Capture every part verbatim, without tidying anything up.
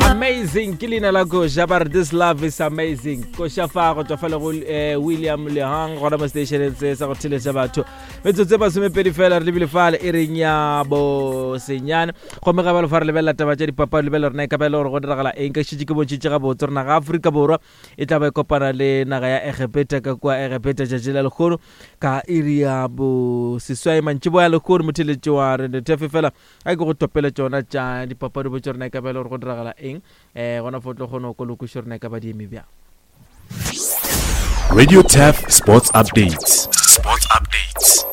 Amazing ke leina la koša, ba re this love is amazing. Koša fa go tswa fa le go eh, William Lehang gona mo stationeng se sa go theletša batho. Metsotso e masomepedi fela re lebile fale e reng ya bosenyane, gomme ga bjalo fa re lebelela taba tša dipapadi, lebelela rena e ka ba e le gore go diragala eng. Ka šetše ke bontšhitše gabotse gore naga ya Afrika Borwa e tla ba e kopana le naga ya Egepeta ka kua Egepeta tšatši la lekgono ka iri ya boseswai mantšiboa ya lekgono. Motheletši wa Radio Turf, fela a ke go topele tšona tša dipapadi, botse rena e ka ba e le gore go diragala eng um gona fo tlo kgone go kolokošo rena e ka ba di eme bjang. Radio Turf Sports Updates. Sports Updates.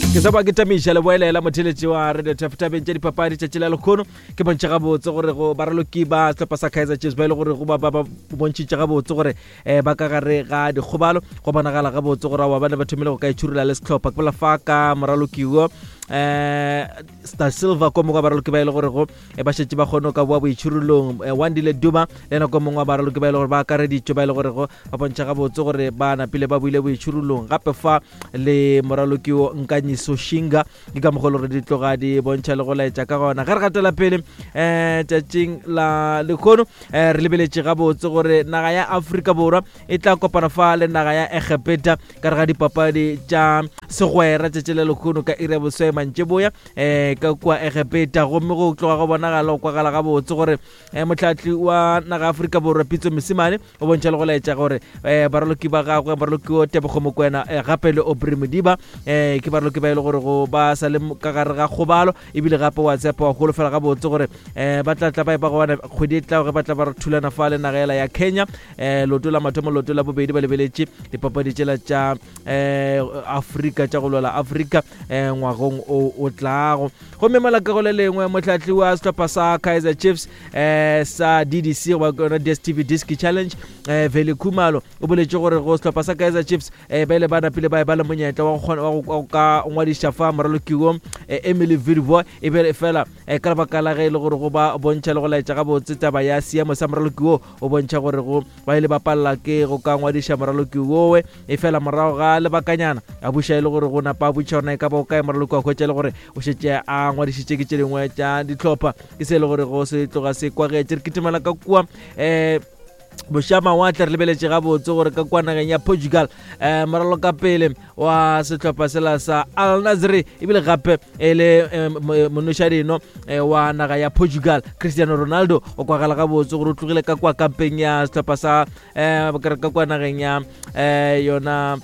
Ke sa ba ke tamiša le boelela motheletši wa Radio Turf tabeng tša dipapadi tšatši la lekgono. Ke bontšha gabotse gore go baraloki ba sehlopha sa Kaizer Chiefs ba e le gore go ba ba ba bontšhitše gabotse gore um ba ka gare ga dikgobalo, go bonagala gabotse gore aowa ba ne ba thomile go ka itšhurula le sehlopha. Ke bola fa ka moraloki wo um Star Silver, ko mongwe wa baraloki ba e le gore go eh, ba šetše ba kgone go ka boa boitšhurulong. eh, Wandile Duma le ena ko mongwe wa baraloki ba e le gore ba akareditšwe, ba e le gore go ba bontšha gabotse gore ba napile ba buile boitšhurulong. Gape fa le moraloki wo Nkanyiso Shinga, ke ka mokgwa le gore di tloga di bontšha le go laetša ka gona. Ge re gatela pele um tšatšing la lekgono, um re lebeletše gabotse gore naga ya Afrika Borwa e tla kopana fa le naga ya Egepeta ka re ga dipapadi tša segwera tšatši la lekgono ka iri ya boswae mantšiboya um ka kua Egepeta. Gomme go tloga go bonagala go kwagala gabotse gore um motlhatli wa naga ya Afrika Borwa Pitso Mosimane o bontšha le go laetša gore um baraloki ba gagwe, baraloki o Tebogo Mokwena um gape le Aubrey Modiba um ke baraloki ba e le gore go ba sa le ka gare ga kgobalo, ebile gape wa tshepa wa holofela gabotse gore um ba tla tla ba e ba gona kgwedi e tlago ge ba tla ba re thulana fa le naga ela ya Kenya um loto la mathomo, loto la bobedi, ba lebeletše dipapadi tšela tša um Afrika tša go lwela Afrika um ngwagong o o tlago. Gomme malakago le lengwe, motlhatli wa sehlopha sa Kaizer Chiefs um sa D D C goba yona D S T V Disc Challenge, um Vele Khumalo, o boletše gore go sehlopha sa Kaizer Chiefs um ba ile ba napile ba e ba le monyetla wa go kgona- wa go wa go ka ngwadiša fa moraloki wo eh, Emily Vidboy, e be fela um ka lebaka la ge e le gore go ba bontšha le go laetša gabotse taba ya seemo sa moraloki wo o bontšha gore go ba ile ba palela ke go ka ngwadiša moraloki wowe. E fela morago ga lebakanyana a buša e le gore go napa a botša gore e ka ba o kae moraloki, wa hwetša e le gore o šetše a ngwadišitše ke tše dingwe tša dihlopha. Ke se e le gore go se tloga se kwagetše. Re kitimela ka kua um bošamawatle, re lebeletše gabotse gore ka kua nageng ya Portugal um moralo ka pele wa sehlopha sela sa Al Nassr, ebile gape e le eh, mo- monošadino eh, wa naga ya Portugal Cristiano Ronaldo, o kwagala gabotse gore o tlogile ka kua kampeng ya sehlopha sa um ka kua nageng ya um yona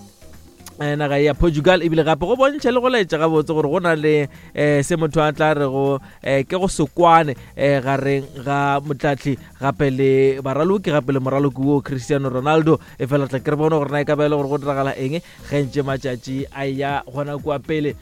eh, naga ya Portugal, ebile gape go bontšha le go laetša gabotse gore go na le um se motho a tla re go um ke go se kwane um gareng ga motlatli gape le baraloki, gape le moraloki wo Cristiano Ronaldo. E fela tla ke re bone gore na e ka ba e le gore go diragala eng ge ntše matšatši a ya gona kua pele.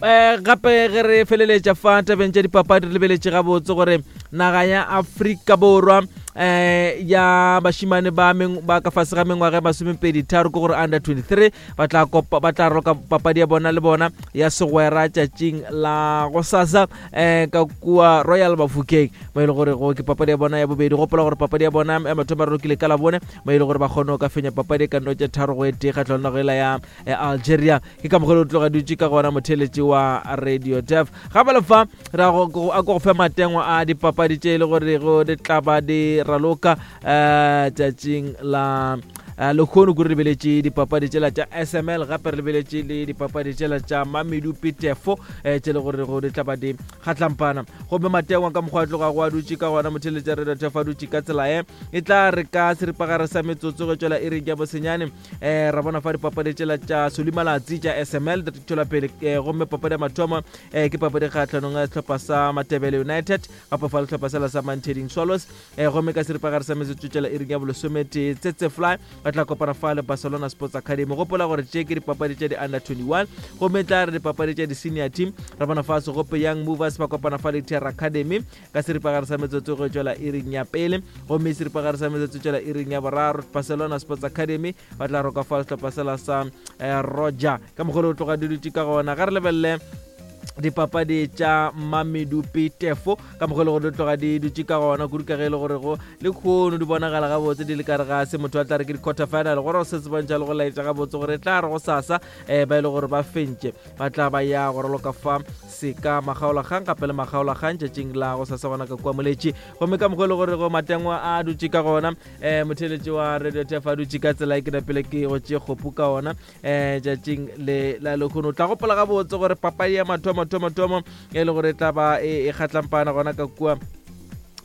um gape ge re feleletša fa tabeng tša dipapadi, re lebeletše gabotse gore naga ya Afrika Borwa um ya bašimane ba meng- ba ka fase ga mengwaga ya masomepedi tharo, ke gore under twenty-three, ba tla kopa ba tla roka papadi ya bona le bona ya segwera tšatšing la gosasa um ka kua Royal Bafokeng, mo e le gore go ke papadi ya bona ya bobedi. Gopola gore papadi ya bona ya mathomo ba rokile ka labone, mo e le gore ba kgone go ka fenya papadi e ka no tše tharo go e tee kgatlhanong nago ela ya eh, Algeria. Ke ka mokgwa o tloga dutše ka gona motheletši wa Radio Turf. Gape le fa re a go a ko go fe matengwa a dipapadi tše e le gore go di tla ba di raloka um tšatšing la eh, lekgono. Ko re lebeletše dipapadi tšela tša S M L, gape re lebeletše le dipapadi tšela tša Mamedupi Tefo um tše le gore go di tla ba di kgatlampana. Gomme matengwa ka mokgwa a tloga go a dutše ka gona motheletša Radio Turf a dutše ka tsela e e tla re ka seripagare sa metsotso go tšwela iring ya bosenyane um ra bona fa dipapadi tšela tša Solimalatsi tša S M L di tšwela pele, eh, gomme papadi ya mathomo um ke papadi kgatlhanong ya sehlopha sa Matebele United, gape fa sehlopha sela sa Manteding Swallows. um gomme ka seripagare sa metsotso tšela iring ya bolesometee, Tsetse Fly ba tla kopana fa le Barcelona Sports Academy. Gopola gore tše ke dipapadi tša di-under twenty-one. Gomme tla re dipapadi tša di-senior team, ra bona fa Segope Young Movers ba kopana fa le Terra Academy ka seripagare sa metsotso go tšwela iring ya pele. Gomme seripagare sa metsotso tšwela iring ya boraro, Barcelona Sports Academy ba tla roka fa sehlopha sela sa eh, Roger. Ka mokgwa o tloga di dutše ka gona, ga re lebelele Dipapadi tša Mamedupi Tefo ka mokgwa e le gore di tloga di dutše ka gona kudu ka ge e le gore go le kgono di bonagala gabotse di le kare ga se motho a tla re ke di-quarter final gore se se bontšha le go laetša gabotse gore e tla re go sasa um ba e le gore ba fentše ba tla ba ya go raloka fa seka makgaolakgang gape le makgaolakgang tšatšing la go sasa gona ka kua moletši. Gomme ka mokgwa e le gore go matengwa a dutše ka gona um motheletši wa Radio Tef a dutše ka tsela e ke napele ke go tše kgopu ka ona um tšatšing le la lekgono. O tla gopola gabotse gore papadi ya mathomo thomo thomo e le gore e tla ba e kgatlampana gona ka kua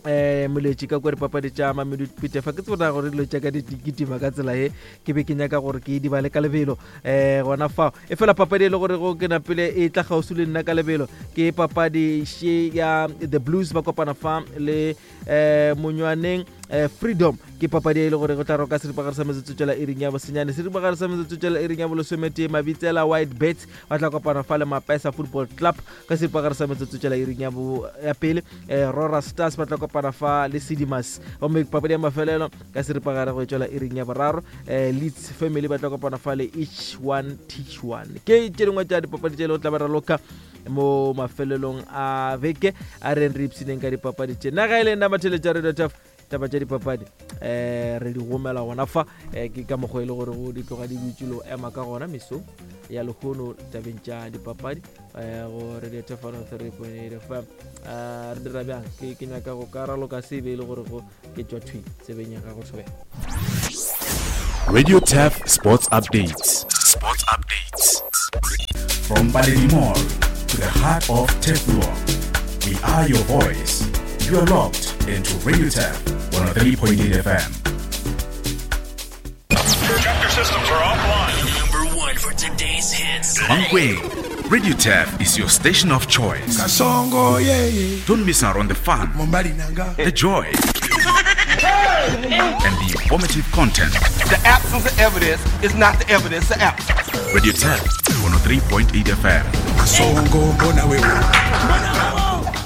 um moletši ka kua dipapadi tša Mamedupi Tefo. Ke tsebona gore dilo tša ka di kitima ka tsela e ke be ke nyaka gore ke di bale ka lebelo um gona fao. E fela papadi e le gore go ke napele e tla kgauswi le nna ka lebelo ke papadi še ya The Blues ba kopana fa le um Monywaneng um Freedom. Ke papadi e le gore go tla roka seripagare sa metsotso tšwela iring ya bosenyane, seripagare sa metsotso tšwela iring ya bolesometee Mabitsela White Birds ba tla kopana fa le Mapesa Football Club ka seripagare sa metsotso tšwela iring ya, ya pele. um Rora Stars ba tla kopana fa le Sidimas. Gomme papadi ya mafelelo ka seripagare go tšwela iring ya boraro um Leeds Family ba tla kopana fa le Each One Teach One. Ke tše dingwe tša dipapadi tše le go tla ba raloka mo mafelelong a beke a reng re ipshineng ka dipapadi tše. Nna ga e le nna matheletša Radio Tef taba tša dipapadi um re di gomela gona fa um ke ka mokgwa e le gore go di tloga di dutše le go ema ka gona meso ya lehono tabeng tša dipapadi um go Radio Tef one oh three point eight F M. Re dira bjang ke ke nyaka go ka raloka se be e le gore go ke tšwa thwi tsebeng ya gago thobela. Radio Tef Sports Updates. Sports Updates. From Paledi Mall to the heart of Teflon, we are your voice. You are locked into Radio Tef one oh three point eight F M. Chapter systems are offline. Number one for today's hits. Mankweng, Radio Tef is your station of choice. Kasongo, yeah, yeah. Don't miss out on the fun, the joy, and the informative content. The absence of evidence is not the evidence of absence. Radio Tef one oh three point eight F M. Kasongo, mbona wewe.